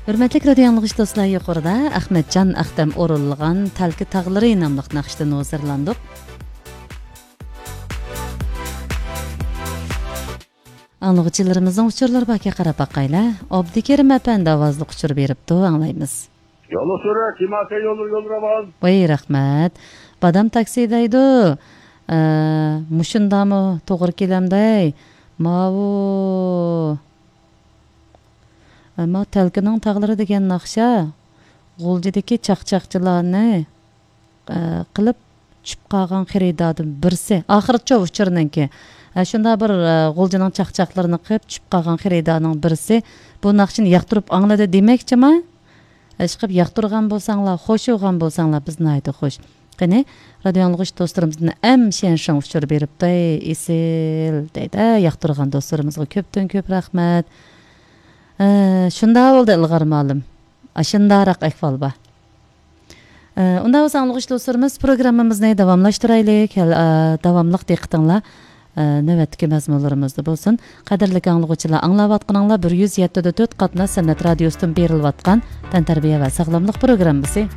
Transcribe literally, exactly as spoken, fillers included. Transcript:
ھۆرمەتلىك رادىيو ئاڭلىغۇچى دوستلار، يۇقىرىدا ئەخمەتجان ئەختەم ئورۇنلىغان تەلكە تاغلىرى ناملىق ناخشىدىن ھۇزۇرلاندۇق. ئاڭلىغۇچىلىرىمىزنىڭ ئۇچۇرلىرى باركەن، قاراپ باقايلى. ئابدۇكېرىم ئەپەندى ئاۋازلىق ئۇچۇر بېرىپتۇ، ئاڭلايمىز. يوللۇق سۈرە، كېماسە يوللۇر، يوللۇر ئاۋاز. ۋاي، رەھمەت. بادام تاكسى دەيدۇ. ئە، مۇشۇندامۇ توغرا كېلەمدەي؟ ماۋۇ. ئەمما تەلكىنىڭ تاغلىرى دېگەن ناخشا غۇلجىدىكى چاقچاقچىلارنى، ئە، قىلىپ چۈشۈپ قالغان خېرىداردىن بىرسى. ئاخىرىچۇ ئۇچۇرنىڭكى. ئە، شۇنداق بىر، ئە، غۇلجىنىڭ چاقچاقلىرىنى قىلىپ چۈشۈپ قالغان خېرىدارنىڭ بىرسى بۇ ناخشىنى ياقتۇرۇپ ئاڭلىدى دېمەكچىما؟ ئىشقىلىپ ياقتۇرغان بولساڭلار، خوش بولغان بولساڭلار، بىز ناھايىتى خوش. قېنى، رادىيو ئاڭلىغۇچ دوستلىرىمىزدىن ئەم شيەنشىڭ ئۇچۇر بېرىپتۇ، ئەي، ئېسىل، دەيدۇ. ياقتۇرغان دوستلىرىمىزغا كۆپتىن كۆپ رەھمەت. ئە، شۇنداق بولدى، ئىلغار مۇئەللىم. ئاشۇنداقراق ئەھۋال بار. ئە، ئۇنداق بولسا، ئاڭلىغۇچ دوستلىرىمىز، پروگراممىمىزنى داۋاملاشتۇرايلى. كەل-، ئە، داۋاملىق دىققىتىڭلار ئە، نۆۋەتتىكى مەزمۇنلىرىمىزدا بولسۇن. قەدىرلىك ئاڭلىغۇچىلار، ئاڭلاۋاتقىنىڭلار بىر يۈز يەتتە دە تۆت قاتناش سەنئەت رادىيوسىدىن بېرىلىۋاتقان تەنتەربىيە ۋە ساغلاملىق پروگراممىسى.